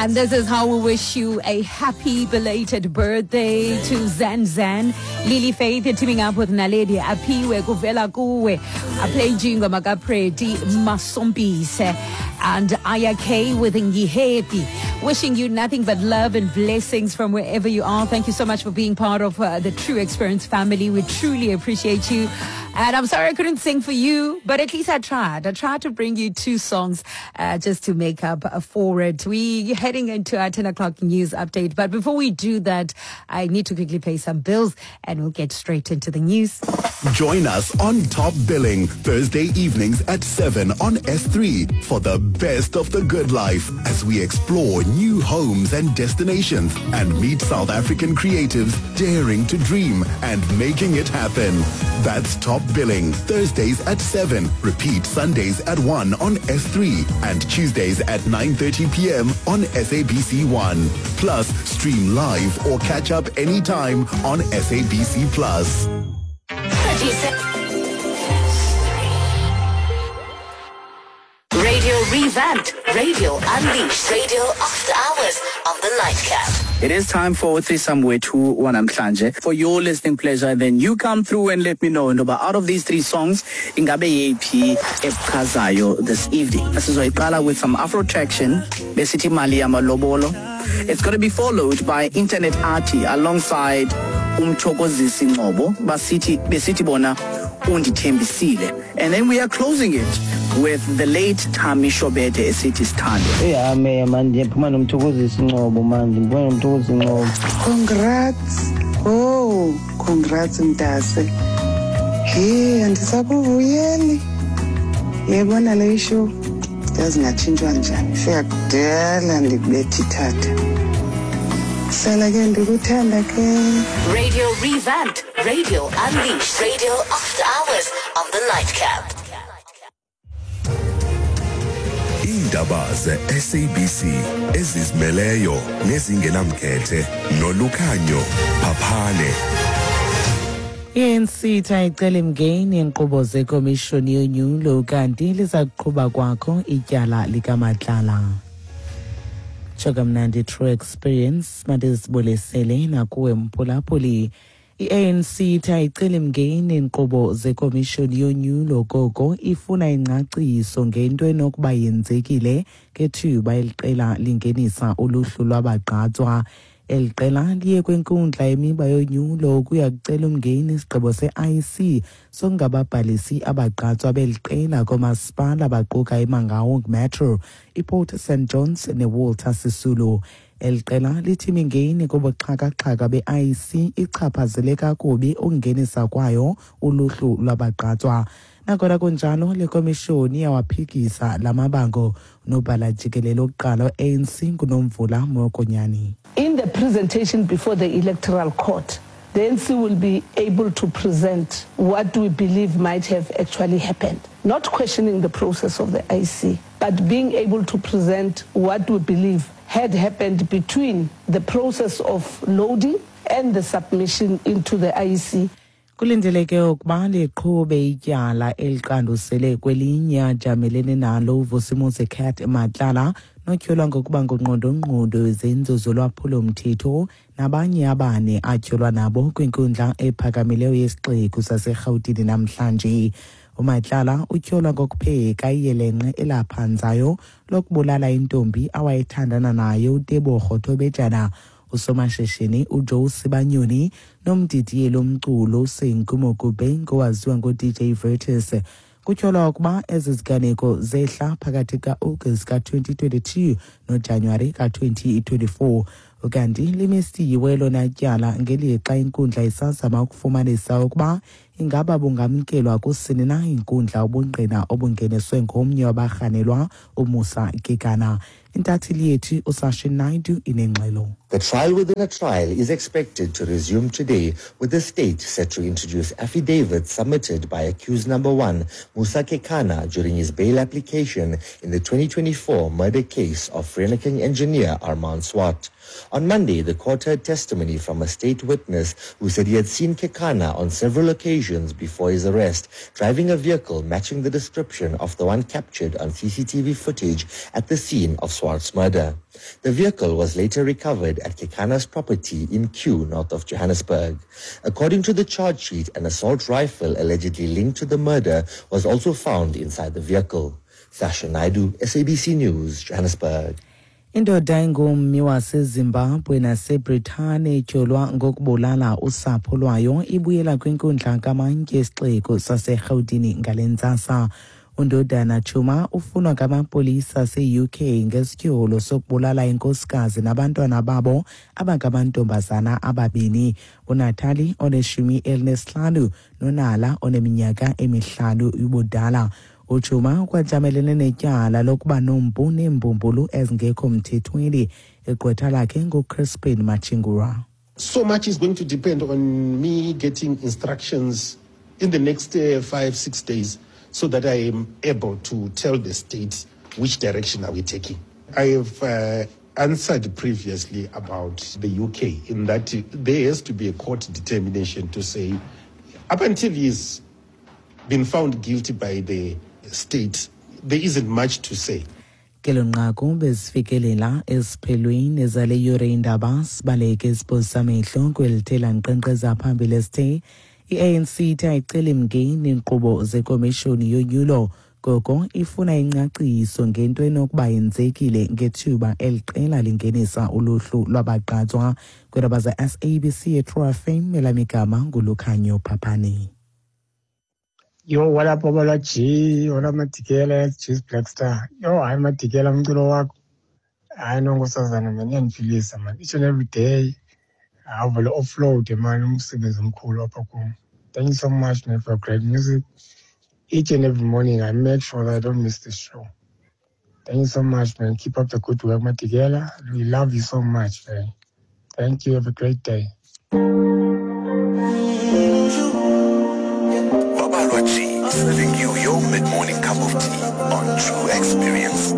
And this is how we wish you a happy belated birthday to Zan Zan. Lily Faith teaming up with Naledi Apiwe Kuvela Kuwe. Aplaying Makapreti Masompise and Aya K with Ngihepi. Wishing you nothing but love and blessings from wherever you are. Thank you so much for being part of uh, the True Experience family. We truly appreciate you. And I'm sorry I couldn't sing for you, but at least I tried. I tried to bring you two songs uh, just to make up for it. We're heading into our 10 o'clock news update. But before we do that, I need to quickly pay some bills and we'll get straight into the news. Join us on Top Billing Thursday evenings at 7 on S3 for the best of the good life as we explore new homes and destinations and meet South African creatives daring to dream and making it happen. That's Top Billing Thursdays at 7, repeat Sundays at 1 on S3 and Tuesdays at 9:30 p.m. on SABC1. Plus, stream live or catch up anytime on SABC Plus. Radio revamped, radio unleashed, radio after hours on the nightcap. It is time for threesome wethu wanamhlanje. For your listening pleasure, then you come through and let me know ntoba out of these three songs, ingabe yeyiphi ekuchazayo this evening. Sizoyiqala with some Afro traction, besithi mali yamalobolo. It's going to be followed by Internet Arty alongside umthokozisi Ngcobo, basithi besithi bona undithembisile. And then we are closing it with the late Thami Shobede esithi sithando. Eyame mani ndiphuma nomthokozisi Ngcobo manje ndiphuma nomthokozisi Ngcobo. Congrats. Oh, congrats mntase. Hey, andisakuvuyeli. Yebona le issue. Yazi ngatshintshwa njani. Fika kudala ndikubetha ithatha. Hlala ke ndikuthanda ke. Radio revamped, radio unleashed, radio after hours on the nightcap. Iindaba ze-SABC ezizimeleyo nezingenamkhethe nolukhanyo phaphane. I-ANC ithi ayiceli mngeni iinkqubo zekomishoni yonyulo kanti liza kuqhuba kwakho ityala likaMatlala. Tsho kamnandi True Experience mandizibulisele nakuwe mphulaphuli. I-ANC ithi ayiceli mngeni iinkqubo zekomishoni yonyulo koko ifuna ingcaciso ngento enokuba yenzekile ngethuba eli qela lingenisa uluhlu lwabagqatswa. Eli qela liye kwinkundla yemiba yonyulo ukuya kucela umngeni isigqibo se-IEC sokungababhalisi abagqatswa beli qela koomasipala baquka iMangaung Metro, iPort St Johns neWalter Sisulu. Eli qela lithi imingeni kubuxhakaxhaka be-IEC ichaphazele kakubi ukungenisa kwayo uluhlu lwabagqatswa. Nangona kunjalo, le komishoni iyawaphikisa la mabango. Unobhala jikelele wokuqala we-ANC nguNomvula Mokonyane. In the presentation before the Electoral Court, the ANC will be able to present what we believe might have actually happened. Not questioning the process of the IC, but being able to present what we believe had happened between the process of loading and the submission into the IEC. Kulindeleke ukuba liqhube ityala eliqandusele kwelinye ajamelene nalo uVusimuzi Cat Matlala notyholwa ngokuba ngungqondongqondo wezenzo zolwaphulo-mthetho nabanye abane atyholwa nabo kwinkundla ephakamileyo yesixeko saseRhawutini namhlanje. UMatlala utyholwa ngokupheka iyelenqe elaphanzayo lokubulala intombi awayethandana nayo uTebogo Thobejana, usomashishini uJoe Sibanyoni nomdidiyeli womculo uSenku Mokube ngowaziwa ngoDJ Vertus. Kutyholwa ukuba ezi ziganeko zehla phakathi ka-August ka-2022 noJanuwari ka-2024. Ukanti limisiwe elona tyala ngelixa inkundla isazama ukufumanisa ukuba ingaba bungamkelwa kusini na inkundla ubungqina obungeniswe ngomnye wabarhanelwa uMusa Kekana. Intatheli yethu uSashin Naidu inengxelo. The trial within a trial is expected to resume today, with the state set to introduce affidavits submitted by accused number 1, Musa Kekana, during his bail application in the 2024 murder case of Vereeniging engineer Armand Swart. On Monday, the court heard testimony from a state witness who said he had seen Kekana on several occasions before his arrest, driving a vehicle matching the description of the one captured on CCTV footage at the scene of Swart's murder. The vehicle was later recovered at Kekana's property in Kew, north of Johannesburg. According to the charge sheet, an assault rifle allegedly linked to the murder was also found inside the vehicle. Sasha Naidu, SABC News, Johannesburg. Indoda engummi waseZimbabwe naseBritane etyholwa ngokubulala usapho lwayo ibuyela kwinkundla kamantyi yesixeko saseRhawutini ngale ntsasa. Undodana Chuma ufunwa ngamapolisa ase-UK ngesityholo sokubulala inkosikazi nabantwana babo abangamantombazana ababini, uNatalie oneshumi elineshlanu noNala oneminyaka 5 ubudala. UChuma ukwajamelene netyala lokuba nompu neembumbulu ezingekho mthethweni. Igqwetha lakhe nguCrispin Machingura. So much is going to depend on me getting instructions in the next 5-6 days so that I am able to tell the state which direction are we taking. I have answered previously about the UK in that there has to be a court determination to say up until he's been found guilty by the state, there isn't much to say. Kelo nqaku bezifikelela esiphelweni zale yure indaba. Sibaleke isibhozo samehlo kwelithela nkqenkqeza phambili esithe i-ANC ithi ayiceli mngeni iinkqubo zekomishoni yonyulo, koko ifuna ingcaciso ngento enokuba yenzekile ngethuba eli qela lingenisa uluhlu lwabagqatswa. Kwiindaba ze-SABC eTrue FM, elamigama nguLukhanyo Phaphani. Yo, what up, Babalwa G? What up, Matikela? G's Black Star. Yo, hayi Matikela, umculo wakho. Hayi no, nkosazana man, iyandiphilisa man. Each and every day, awuvele offload man, umsebenzi omkhulu apha kum. Thank you so much, man, for great music. Each and every morning, I make sure that I don't miss the show. Thank you so much, man. Keep up the good work, Matikela. We love you so much, man. Thank you. Have a great day. Babalwa G, serving you your mid-morning cup of tea on True Experience.